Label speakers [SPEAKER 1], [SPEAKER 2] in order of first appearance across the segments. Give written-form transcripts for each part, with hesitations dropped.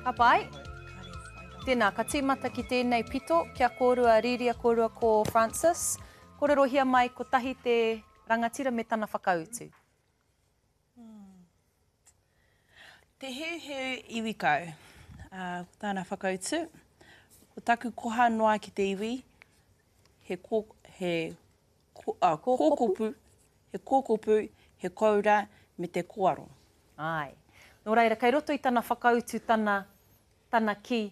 [SPEAKER 1] Ka pai. Tēnā, ka tīmata ki tēnei pito, kia kōrua Rīria kōrua ko Francis. Kōrerohia mai kotahi te rangatira me tana whakautu.
[SPEAKER 2] Te Heuheu Iwikau, ā, ko tāna whakautu, ko taku koha noa ki te iwi, he kō, he kō, ā, kōkopu, he kōkopu, he koura, me te kōaro.
[SPEAKER 1] Āe. Nō reira, kei roto i tana whakautu tana, tana kī,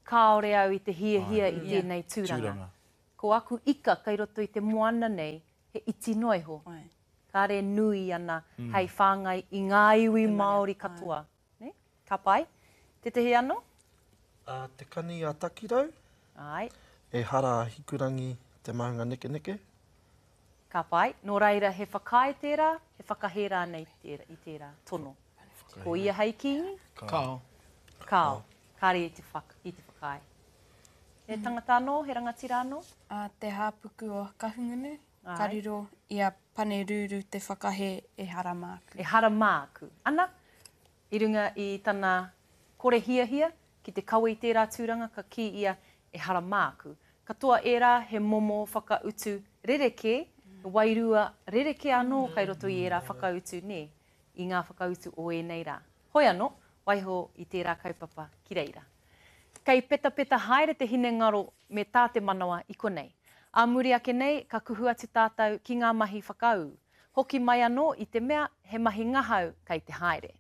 [SPEAKER 1] kāore au i te hiahia i tēnei tūranga. Ko aku ika kei roto i te moana nei, he iti noa iho. Kāre nui ana hei whāngai i ngā iwi Māori katoa. Nē? Ka pai. Tētehi anō?
[SPEAKER 3] A Te Kani a Takirau.
[SPEAKER 1] Āe.
[SPEAKER 3] Ehara a Hikurangi te maunga nekeneke.
[SPEAKER 1] Ka pai. Nō reira, he whakaae tērā, he whakahē rānei i tērā tono? Ko ia hei kīngi?
[SPEAKER 3] Kāo.
[SPEAKER 1] Kāo. Kāre i te whakaae. He tangata anō, he rangatira anō?
[SPEAKER 4] A Te Hāpuku o Kahungunu, ka riro i a Panerūrū te whakahē ehara māku.
[SPEAKER 1] Ehara māku. Ana, i runga i tana kore hiahia ki te kawe i tērā tūranga ka kī ia ehara māku. Katoa ērā he momo whakautu rerekē, he wairua rerekē anō kei roto i ērā whakautu, nē, i ngā whakautu o ēnei rā. Hoi anō, waiho i tērā kaupapa ki reira. Kei petapeta haere te hinengaro me tā te manawa i konei. Ā muri ake nei ka kuhu atu tātou ki ngā mahi whakaū. Hoki mai anō i te mea he mahi ngahau kei te haere.